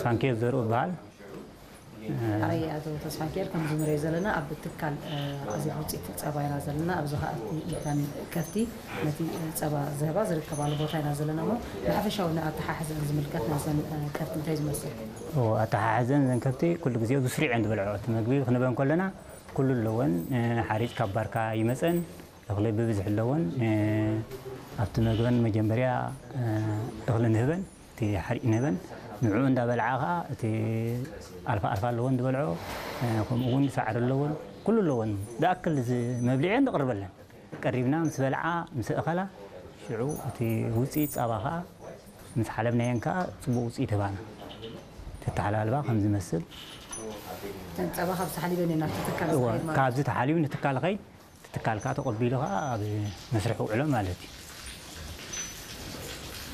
ፋንኬር ዘርኡ ይበሃል። ኣይ ኣቶ ተስፋንኬር፣ ከምዚ ንሪኦ ዘለና ኣብ ትካል ኣዜብ ውፅኢት ፀባ ኢና ዘለና። ኣብዚ ከዓ ኢልካን ከፍቲ ነቲ ፀባ ዝህባ ዝርከባሉ ቦታ ኢና ዘለና እሞ፣ ንሓፈሻዊ ንኣተሓሕዘን ዝምልከት ናይዘን ከፍቲ እንታይ ዝመስል? ኣተሓሕዘን ዘን ከፍቲ ኩሉ ግዜ ብስሪዕ እየን ዝበልዖ። እቲ መግቢ ክንበን ከለና ኩሉ ኣለወን። ሓሪጭ ካብ ባርካ ይመፀን፣ እኽሊ ብብዝሒ ኣለወን። ኣብቲ መግበን መጀመርያ እኽሊ ንህበን፣ እቲ ሓሪጭ ንህበን። ንዕኡ እንዳበልዓ ከዓ እቲ ኣልፋ ኣልፋ ኣለወን ዝበልዖ፣ ከምኡ እውን ሳዕሪ ኣለወን፣ ኩሉ ኣለወን። ዝኣክል መብልዒ ንቕርበለን። ቀሪብና ምስ በልዓ ምስ ኣኸላ ሽዑ እቲ ውፅኢት ፃባ ከዓ ምስ ሓለብናየን ከዓ ፅቡቅ ውፅኢት ህባና። ተተሓላልባ ከም ዝመስል እተን ፀባ ካብ ዝሓሊበን እየን ናብቲ ትካል ዝኸይድ ማለት ካብዚ ተሓሊቡ ንትካል ኸይድ ትካል ከዓ ተቐቢሉ ከዓ ኣብ መስርሕ ውዕሎ ማለት እዩ።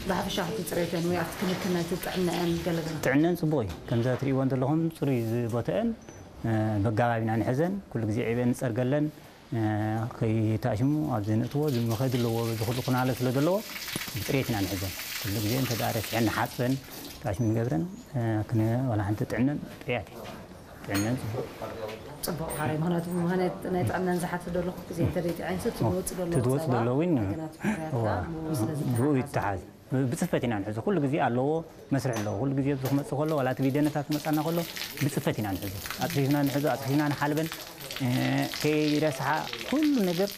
ብሓፈሻ እቲ ፅሬተን ወይ ኣብቲ ክንክን ናይቲ ጥዕናአን ገለገለ ጥዕነን ፅቡቅ እዩ። ከምዛ ትሪእወን ዘለኹም ፅሩይ ቦተአን በጋባቢና ንሕዘን ኩሉ ግዜ ዒበን ንፀርገለን። ከይታሽሙ ኣብዚ ንእትዎ ዝመኸድ ኣለዎ። በዚ ኩሉ ኩናለ ስለ ዘለዎ ብፅሬት ኢና ንሕዘን። ኩሉ ግዜ እንተ ደኣ ረሲሐን ንሓፅበን ታሽሙ ንገብረን። ክነ ዋላ ሓንቲ ጥዕነን ጥያት እዩ። ጥዕነን ፅቡቅ ፅቡቅ ሓራይ ምክንያቱ ምክንያት ናይ ጥዕናን ዝሓተ ደለኹ ግዜ እንተደይትዐንሱ ትድወፅ ደለዎ ትድወፅ ደሎ እውን ብኡ ይተሓዝ። ብፅፈት ኢና ንሕዞ። ኩሉ ግዜ ኣለዎ መስርሕ ኣለዎ። ኩሉ ግዜ ኣብዚ ክመፅእ ከሎ ዋላ እቲ ቢደነታት ክመፃና ከሎ ብፅፈት ኢና ንሕዞ። ኣፅፊፍና ንሕዞ፣ ኣፅፊፍና ንሓልበን ከይረስሓ ኩሉ ነገር